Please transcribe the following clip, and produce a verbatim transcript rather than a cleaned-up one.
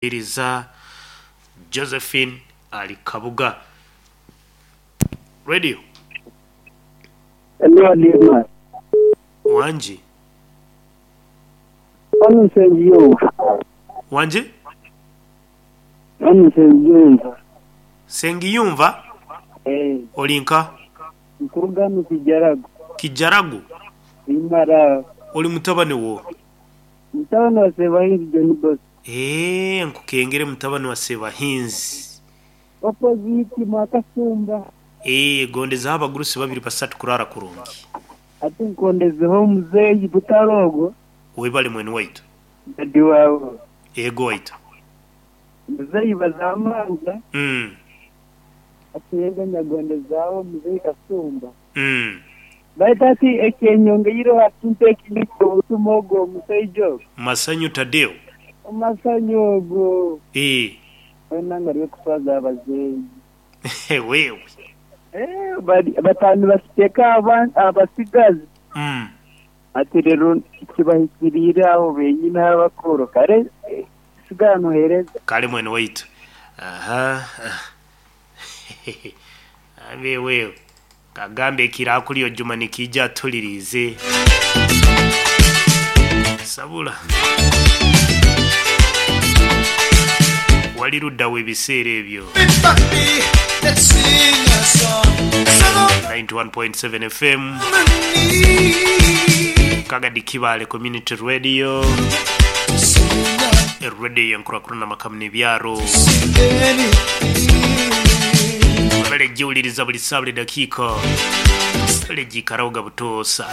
Iriza Josephine ali Kabuga Radio. Hello, Lima. Wanji. Wano Nsengiyumva. Wanji? Wano Nsengiyumva. Sengiyumva. Eh, Olinka nkuruga mu Kijaragu. Kijaragu. Imara. Oli mutabani wo. Mutabani wa Sebahinzi John Bosco. Eh, nkukengere mutabani wa Sebahinzi. Opposite Mwakasumba. Eh, gondezaho abagurusi babiri basatu kurara kurungi. Ate nkondezeho muzeeyi Butarogo. Webale mwene waitu. Dadi wawe. Ego waitu. Muzeeyi Bazamanza. Mm. Ate yega nyagondezaho muzeeyi Kasumba. Mm. Baita ati ekyenyongeire watunta ekindiko obutuma ogwo omusaijo. Masanyu Tadeo. Omasanyu ogwo. Eh. Wena nga kutwaza abazeeyi. Wewe. Eh, bari batanu basiteka aba- abasigazi. Mm. Ati rero kibahikiriire aho benyine abakuru kare eh, sigara nohereza. Kale mwene waitu. Aha. Abe wewe. Kagambe ekirakulyo Juma nikijja atulirize. Sabula. Wali luddawo ebiseera ebyo. Everybody, let's sing a song. Song of ninety-one point seven F M. harmony. Kagadi Kibale Community Radio. Sing a- Radio yenkurakurana makamu n'ebyaro. sing anything. Bale giwuliriza buli ssaawa buli dakiika. Bale giikarawo ga butoosa.